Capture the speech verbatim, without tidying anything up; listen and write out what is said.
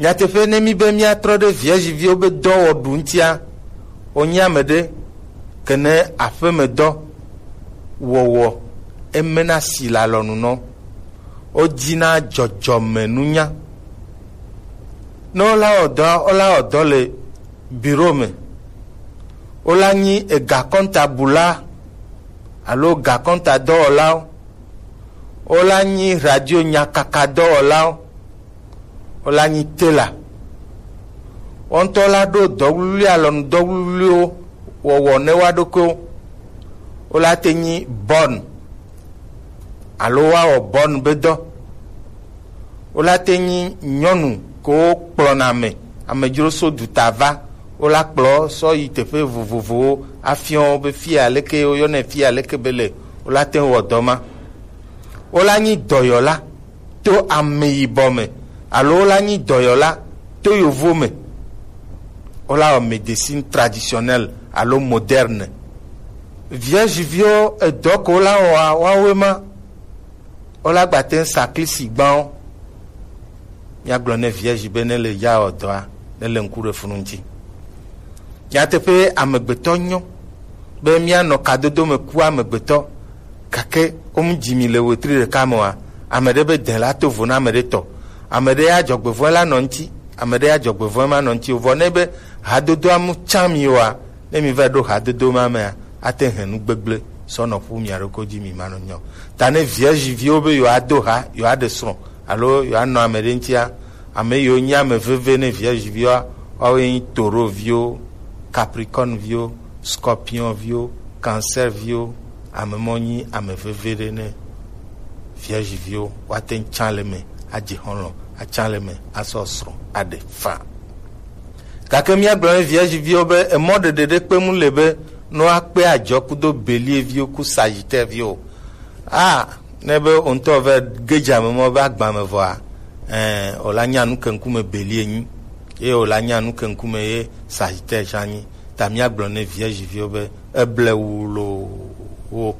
Nyateƒe, ne mi be míatrɔ ɖe Vierge viwo be dɔwɔɖu ŋutia, wonye ame ɖe kene aƒemedɔ wɔwɔ emena si le alɔnu nɔ. Wodina dzɔdzɔmenunya. Ne wola wɔ dɔ, wola wɔ dɔ le biro me. Wola nyi egakɔntabula alo gakɔnta dɔwɔlawo. Wola nyi radio nyakaka dɔwɔlawo. Wola nyi tela. Wo ŋutɔ la ɖo dɔwluwlui, alɔnu dɔwluwluiwo wɔwɔ ne woa ɖokuiwo. Wola te nyi bɔn alo woawɔ bɔn be dɔ. Wola te nyi nyɔnu ko kplɔna ame, amedzro so duta va. Wola kplɔ sɔ yi teƒe vovovowo afiɔ wo be fia leke woyɔnɛ fia leke be le. Wola te wɔ dɔ ma. Wola nyi dɔyɔla to ame yibɔ me, alo wola nyi dɔyɔla to yovo me. Wola wɔ médecine traditionnelle alo moderne. Vierge viwo edɔ ko wola wɔa, woawoe ma. Wola gba te ŋu sa klisi gbawo. Míagblɔ ne Vierge be ne le ya wɔ dɔa, ne le ŋku ɖe funu ŋuti. Nyateƒe, amegbetɔ nyɔ be míanɔ kadodo me ku amegbetɔ, gake womu dzi mi le wetri ɖeka me oa, ame ɖe be dɛ la to vo na ame ɖe tɔ. Ame ɖe ya dzɔgbevɔ̃e la nɔ ŋuti, ame ɖe ya dzɔgbevɔ̃e ma nɔ ŋuti o. Vɔ ne be hadodoa mu tsã mi oa, ne mi va ɖo hadodo ma mea, ate hɛn nu gbegblẽ sɔ nɔ ƒu mia ɖokui dzi mi manɔ nyɔ. Ta ne Vierge viwo be yewoado ha, yewoaɖe srɔ̃ alo yewoanɔ ame ɖe ŋutia, ame yiwo nye ame veve ne Vierge viwoa, woawoe nye Taureau viwo, Capricorne viwo, Scorpion viwo, Cancer viwo. Ame mɔ nyi ame veve ɖe ne Vierge viwo. Woate ŋu tsã le me adze xɔlɔ̃, atsã le me asɔ srɔ̃ aɖe faa. Gake míagblɔ ne Vierge viwo be emɔ ɖeɖe ɖe kpe mu le be ne woakpe adzɔ kudo Bélier viwo ku Sagittaire viwo. A, ne be wo ŋutɔ va ge dze ame mɔ be agba me vɔa, ɛ, wòla nya nu ke ŋkume Bélier nyi, eye wòla nya nu ke ŋkume ye Sagittaire tsã nyi. Ta míagblɔ ne Vierge viwo be eble wu loo, wo